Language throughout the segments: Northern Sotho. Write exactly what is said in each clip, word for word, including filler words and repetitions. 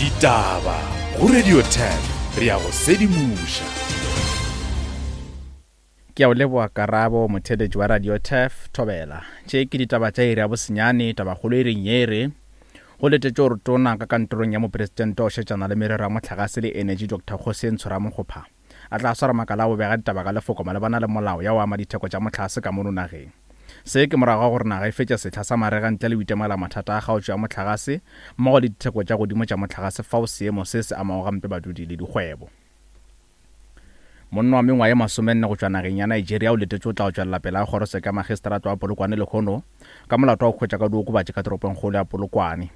Ditaba go Radio ten re ya go sedimoša. Ke a o leboa Karabo, motheeletši wa Radio Turf, Thobela. Tše ke ditaba tša iri ya bosenyane, tabakgolo e reng ye re, Go letetšwe gore Tona ka kantorong ya Mopresidente wa go šetšana le merero ya mohlagase le enetši Doctor Kgosientsho Ramokgopa a tla swara makala a go bega ditaba ka lefoko malebana le molao ya go ama ditheko tša mohlagase ka mono nageng. Se ke morago ga gore naga e fetše sehla sa marega ntle le go itemogela mathata a kgaotšo ya mohlagase mmogo le ditheko tša godimo tša mohlagase fao seemo se se amago gampe badudi le dikgwebo. Monna wa mengwaga ye masomenne go tšwa nageng ya Nigeria o letetšwe go tla go tšwelela pele ga kgorotsheko ya magistrata wa Polokwane lehono ka molato wa go hwetša ka diokobatši ka toropongkgolo ya Polokwane.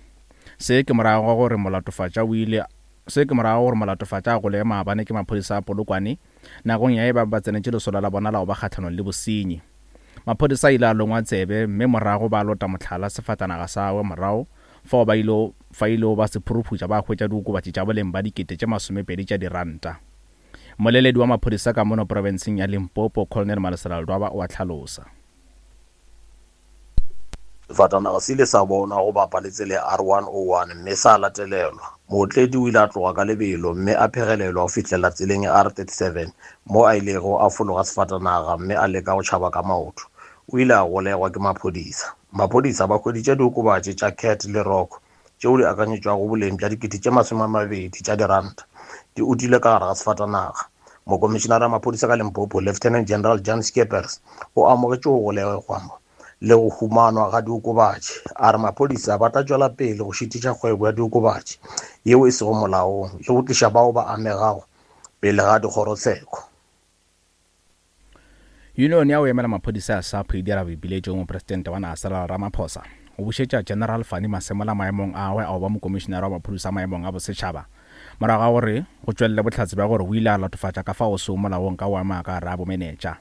Se ke morago ga gore molatofatša o ile Se ke morago ga gore molatofatša a golegwe maabane ke maphodisa a Polokwane nakong ya ge ba be ba tsenetše lesolo la bona la go ba kgahlanong le bosenyi. Maphodisa a ile a longwa tsebe mme morago ba lota mohlala sefatanaga sa gagwe morago fao ba ilego fa ilego ba se phuruphutša ba hwetša diokobatši tša boleng ba dikete tše masomepedi tša diranta. Mmoleledi wa maphodisa ka mono profenseng ya Limpopo, Colonel Malesela Ledwaba o a hlalosa. Sefatanaga se ile sa bonwa go bapa le tsela ya R one oh one mme sa latelelwa. Mootledi o ile a tloga ka lebelo mme a phegelelwa go fihlela tseleng ya R thirty-seven mo a ilego a fologa sefatanaga mme a leka go tšhaba ka maoto. O ile a golegwa ke maphodisa. Maphodisa ba hweditše diokobatši tša cat le rock tšeo di akanyetšwago boleng bja dikete tše masome a mabedi tša diranta di utilwe ka gare ga sefatanaga. Mokomišenare wa maphodisa ka Limpopo, Lieutenant General Jan Skeepers, o amogetše go golegwa le go humanwa ga diokobatši. A re maphodisa ba tla tšwela pele go šitiša kgwebo ya diokobatši yeo e sego molaong le go tliša bao ba amegago pele ga dikgorotsheko. Yunione ya go emela maphodisa ya SAPO e dira boipiletšo go Mopresidente wa naga Cyril Ramaphosa go bušetša General Fannie Masemola maemong a gagwe a go ba mokomišenare wa maphodisa maemong a bosetšhaba morago ga gore go tšwelele bohlatse bja gore o ile a latofatša ka fao seo molaong ka go ama ka gare a bomenetša.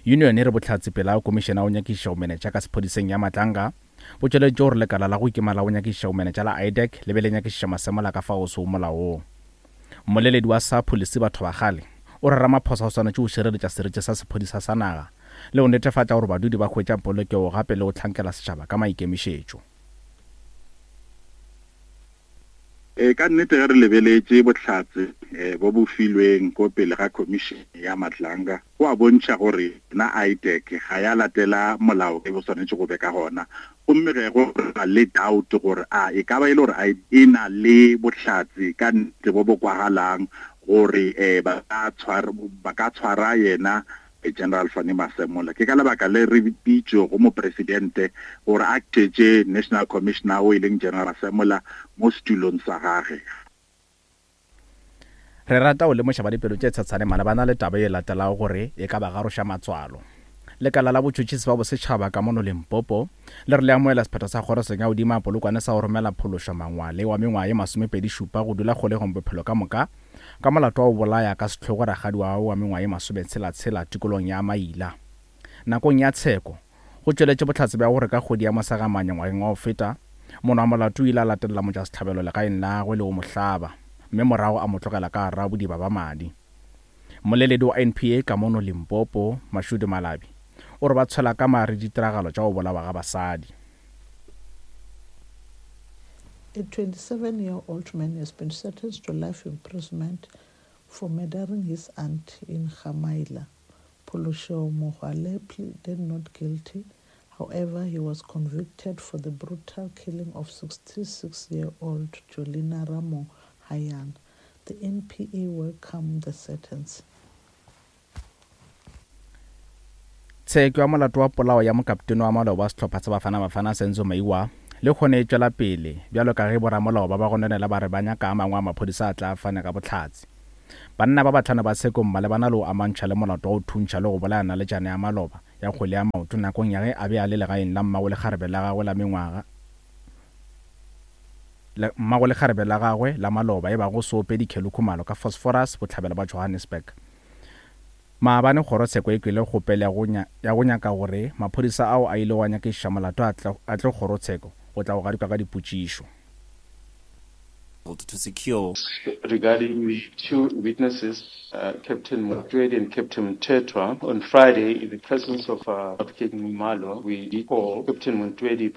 Yunione e re bohlatse pele ga komišene ya go nyakišiša bomenetša ka sephodiseng ya Matlanga bo tšweleditše gore lekala la go ikema la go nyakišiša bomenetša la I D E C le be le nyakišiša Masemola ka fao seo molaong. Mmoleledi wa SAPO Lesiba Thobakgale o re Ramaphosa o swanetše go šireletša seriti sa sephodisa sa naga le go netefatša gore badudi ba hwetša polokego gape le go hlankela setšhaba ka maikemišetšo. E, ka nnete ge re lebeletše bohlatse e, bo bo filweng ko pele ga khomišene ya Matlanga, go a bontšha gore na I D E C ga ya latela molao e bo swanetše go be ka gona. Gomme ge go ba le doubt gore a e ka ba e le gore e na le bohlatse ka nnete bo bo kwagalang gore eh, ba ka tshwara, ba ka tshwara yena General Fannie Masemola. Ke ka lebaka le re bitšo go mopresidente gore a tšetše National Commissioner o e leng General Masemola mo setulong sa gagwe. Re rata go lemoša ba dipelo tše tshetshane malebana le taba e latelago gore e ka ba garoša matswalo. Lekala la botšhotšhisi ba bosetšhaba ka mono Limpopo le re le amohela sephetho sa kgoroseng ya godimo ya Polokwane sa go romela Phološo Mangwale wa mengwaga ye masomepedi šupa go dula kgolegong bophelo ka moka ka molato wa go bolaya ka sehlogo rakgadi wa gagwe wa mengwaga ye masometshela-tshela tikolong ya Maila. Nakong ya tsheko, go tšweletše bohlatse bja gore ka kgwedi ya Mosegamanye ngwageng wa go feta, monwa molato o ile a latelela motšwasehlabelo legaeng la gagwe le go mo hlaba, mme morago a mo tlogela ka gare ga bodiba ba madi. Mmoleledi wa N P A ka mono Limpopo, Mashudu Malabi, o re ba tshwela ka mare ditiragalo tša go bolawa ga basadi. A twenty-seven-year-old man has been sentenced to life imprisonment for murdering his aunt in Gamaila. Pholosho Mogale pleaded not guilty. However, he was convicted for the brutal killing of sixty-six-year-old Jolina Ramo Hayan. The N P A welcomed the sentence. Tsheko ya molato wa polao ya mokaptene wa maloba wa sehlopha sa Bafana Bafana Senzo Meyiwa le kgone e tšwela pele bjalo ka ge boramolao ba ba gononela ba re ba nyaka a mangwe a maphodisa a tla fane ka bohlatse. Banna ba bahlano ba tshekong malebana le go amantšha le molato wa go thuntšha le go bolaya naletšana ya maloba ya kgwele ya maoto nakong ya ge a be a le legaeng la mmago lekgarebe la gagwe la mengwaga le mmago lekgarebe la gagwe la maloba e bago Seopedi Kelly Khumalo ka Phosphorus bohlabela bja Johannesburg. Maabane kgorotsheko e kwele kgopelo ya go ya go nyaka gore maphodisa ao a ilego a nyakišiša molato a tle a tle kgorotsheko go tla go gadikwa ka dipotšišo. To secure. Regarding the two witnesses, uh, Captain Montwedi and Captain Mthethwa, on Friday, in the presence of, uh, Advocate Nxumalo, we did call Captain Montwedi